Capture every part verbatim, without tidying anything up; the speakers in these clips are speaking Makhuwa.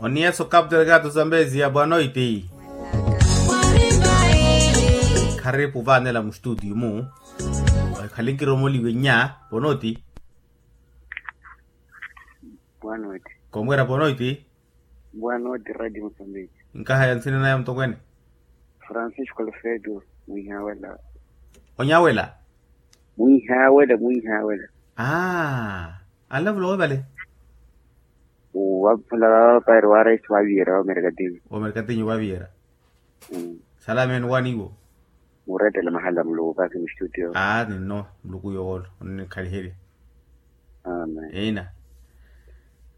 Oniyeso kaptela kato zambezi ya bwanoiti. Kharipu vanela mustutiyu mu. Khalinkiromoliwe nya ponoti. Bwanoiti. Komwera ponoti. Bwanoiti radi musambiki. Nkahaya nsina naya mtokwene. Francisco alfredo mwihawela. Onyawela. Mwihawela mwihawela. Aa. Alavula wovale. Wavula vavapari wa raisi waviyera wa merkatinyu. Wa merkatinyu waviyera. Salameni waniwo. Murettele mahala muluku kaki mustutiyo. Aa ninno. Muluku yoolo onnikhaliherya. Amen. Ina.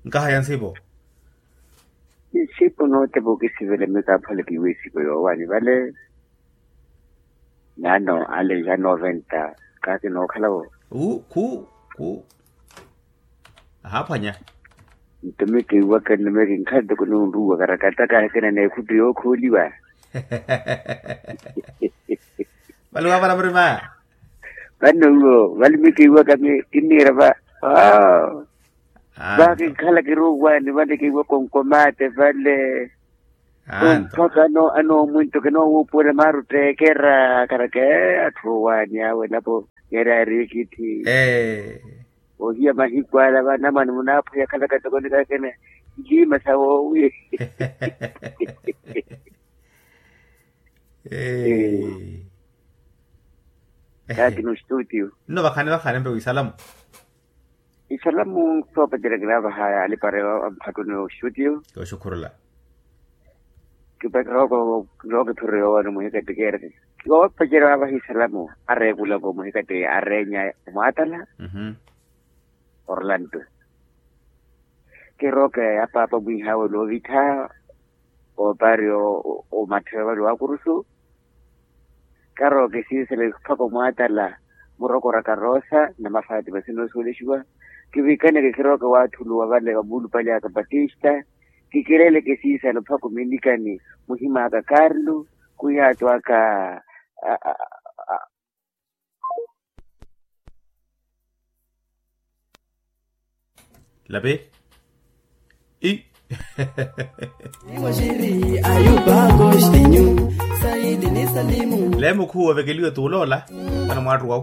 Nkahaya nsipo. Nsipo nootepa okisivela mika aphole kiiwe isipo yoowani vale. Nano ale ya noventa. Kaki nookhalavo. Khu khu. Ahaphwanya. Nto mikiiwaka nno mikinkhala ntoko nunruwa karakataka akina n'ekhuttu yookhooliwa. Vale wavara murima. Vano iwo vale mikiiwaka kinniira va. Vakinkhala kiruwani vale kiiwaka onkomate vale. Mpaka anoomwinto kinoowuupuwela maari otteekera karaka. Atthu owaani awe napo yari aari ekithi. Ohiya mahiku ala vanamwane munaaphweya khalaka tokoni kakene. Njiima sa woowi. Kaakina ostutio. Nno vakhani vakhani mpe wisalamu. Isalamu soopacerya kinaavaha alipare amphattuni oxutiyo. Kooxukhurula. Kipacerya kirookiphererya yoowano muhikattekerya. Koopacerya waavaha isalamu areekulaka omuhikatte areenya omwaatala. Orlando. Kirooke apaapa mwiihaawe loovittha. Oopari omattheyo vale waakurusu. Karooke siisele mpakha omwaatala murokora karoosa na mafatima sinoosuwelexiwa. Kivikaneke kirooke waathuluwa vale vamuulupalyaka batista. Kikireleke siisele mpakha ominikani muhim'aka karlu. Khuyaatwaka. Lapi. Ii. Leemukhuwa ovekeliwe tuuloola. Vano mwaattuwa.